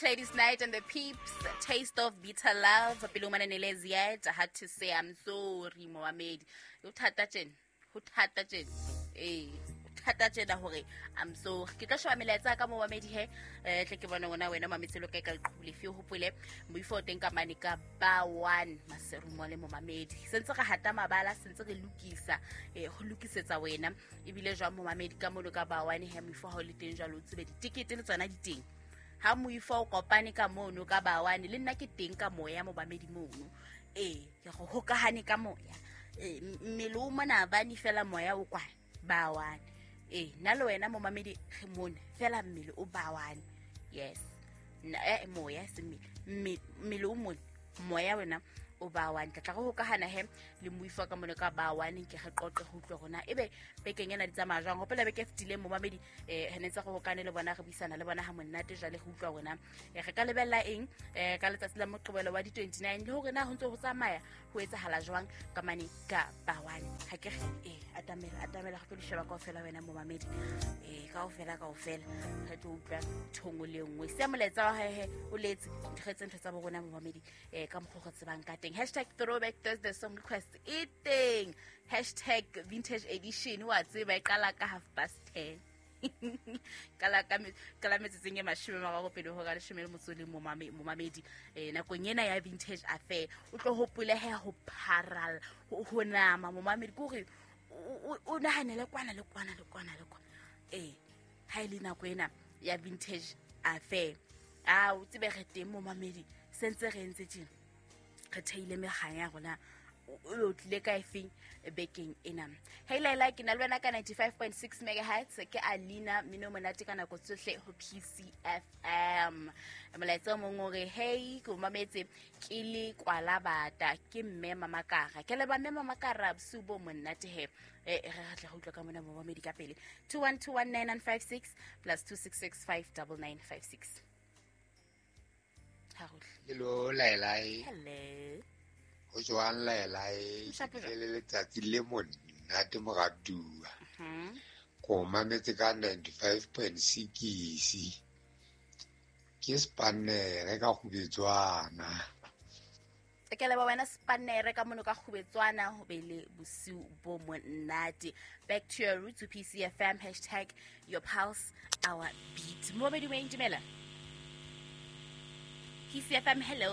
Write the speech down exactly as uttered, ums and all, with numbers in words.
Ladies Night and the Peeps, Taste of Bitter Love, pele o mananele Ziet, Hard to Say I'm Sorry, momamedi. Ho thata tjena, ho thata tjena. Eh, ho thata tjena hore I'm sorry. Ke tlo sheba melaetsa ka momamedi he, eh tle ke bone ngona wena mametse lo kae ka leqhubu lefe o hopole moifo o teng ka mane ka ba one Maseru le momamedi. Sentse re hata mabala, sentse re lokisa, eh ho lokisetsa wena ebile jwang momamedi ka mono ka ba one he moifo ha o le teng jwalo o tsebe ditikete le tsona di teng. Ha moifo o kopane ka mono ka bawane le nna ke teng ka moya momamedi mono. Eh ke go hokahane ka moya. Eh mmele o mona bane fela moya o kwana bawane. Eh nna le wena momamedi re mona fela mmele o bawane. Yes. Nna eh moya se mmele mmele o mona moya wena o bawane. Tla tla go hokahana he le moifo ka mono ka bawane ke re qoqe go utlwe rona ebe bekeng ena di tsamaya jwang. Hopola beke fetileng momamedi eh hene tsa go hokane le bona re buisana le bona ha monate jwale go utlwa rona re ka lebella eng eh ka letsatsi la Moqebelo wa di twenty-nine le hore na ho ntse ho tsamaya ho etsahala jwang ka mane ka bawane. Ha ke re eh atamela atamela go tlo sheba kaofela wena momamedi eh kaofela kaofela re tlo utlwa thongo le nngwe se moletsa wa hae o letse nthetse ntho tsa bo rona momamedi eh ka mokgwa go tsebang ka teng. Hashtag throwback Thursday song request e teng. Hashtag vintage edition wa tseba e qala ka half past ten. Kala ka kala metsotsong e mashome a mararo pele ho ka leshome le motso le momamedi eh nakong ena ya vintage affair o tlo hopole he ho pharal ho nama momamedi ke hore o nahanele kwana le kwana le kwana le kwana eh ha ile nako ena ya vintage affair a o tsebe re teng momamedi sentse re ntse tjena re theile meganya ya rona o tlile ka efeng bekeng ena. Hey Laila ke na le wena ka ninety-five point six megahertz ke Alina mino monate ka nako tsohle ho P C F M. Molaetsa o mong o re hey ke mametse ke le kwala bata ke mme Mamakara ke le ba mme Mamakara bosiu bo monate he eh re tla go utlwa ka mona momamedi ka pele two one two one nine nine five six plus two six six five nine nine five six. Hello Laila. Hello. Ho jwang Laila? Ke le letsatsi le monate moratuwa. Mhm. Ko mametse ka ninety-five point six. Ke spanere ka Kgubetswana. Ke leboha wena spanere ka mono ka Kgubetswana ho be le bosiu bo monate. Back to your roots to P C F M hashtag your pulse our beat. Momamedi wa dumela. P C F M hello.